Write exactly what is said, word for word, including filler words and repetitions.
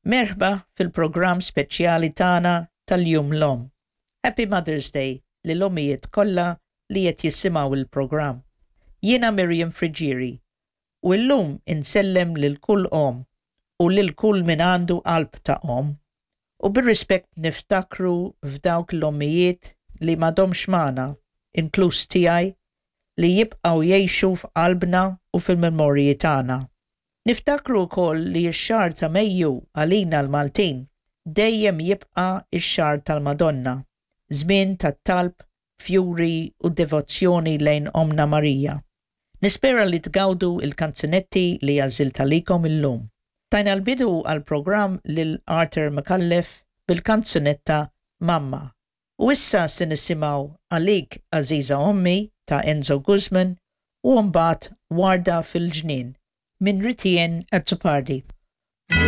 Merħba fil-programm speċjali tagħna tal-Jum l-Omm. Happy Mother's Day lill-ommijiet kollha li qed jisimgħu il-programm. Jiena Miriam Friggieri u llum insellem lil kull omm u lil kull min għandu qalb ta' omm u bir-rispett niftakru f'dawk l-ommijiet li m'għadhomx magħna, inkluż tiegħi, li jibqgħu jgħixu f'qalbna u fil-memorji tagħna. Niftakru wkoll li x-xahar ta' Mejju għalina l-Maltin dejjem jibqa' x-xahar tal-Madonna, żmien tat-talb, fjuri u devozzjoni lejn Omna Marija. Nispera li tgawdu il-kanzunetti li għażilt għalikom illum. Tajna l-bidu għal-programm lil Arthur Micallef bil-kanzunetta Mamma. U issa se nisimgħu Għalik Għażiża Ommi ta' Enzo Guzman u mbagħad Warda fil-ġnien minn Ritienne Azzopardi.